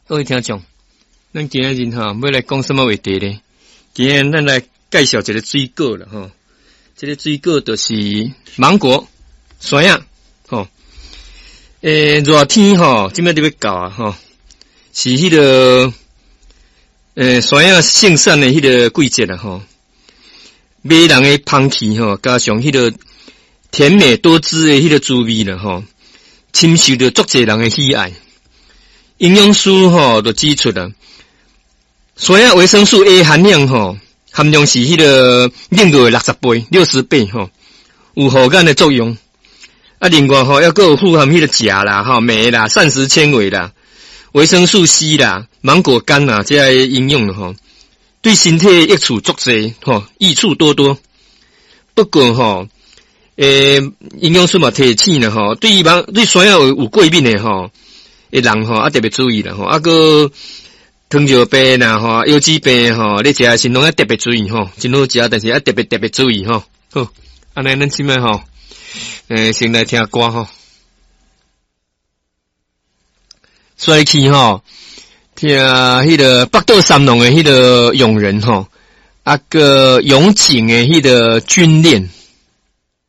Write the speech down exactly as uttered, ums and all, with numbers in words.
各位聽眾，咱今仔日吼欲來講啥物話題呢？今仔日咱來介紹一个水果啦吼。這个水果就是芒果、山仔吼。欸，熱天吼，這擺就欲到啊吼，是彼个欸山仔盛產的彼个季節啦吼。迷人的香氣吼，加上彼个甜美多汁的彼个滋味啦吼，深受著足濟人的喜愛。營養師吼就指出啦，山仔維生素 A 含量吼，含量是彼个另外六十倍、六十倍吼，有護眼的作用。啊，另外吼，猶閣有富含彼个鉀啦、吼鎂啦、膳食纖維啦、維生素 C 啦、芒果苷啊，這些營養吼，對身體益處足濟吼，益處多多。不過吼，欸，營養師嘛提醒啦吼，對芒對山仔有有過敏的吼的人吼，啊特別注意啦吼，啊閣糖尿病啦吼、腰子病吼，咧食的時攏愛特別注意吼，真好食，但是愛特別特別注意吼。好，按呢咱這擺吼，欸，先來聽歌吼。煞去吼，聽彼个北斗三龍的彼个勇人吼，啊閣永井的彼个軍戀。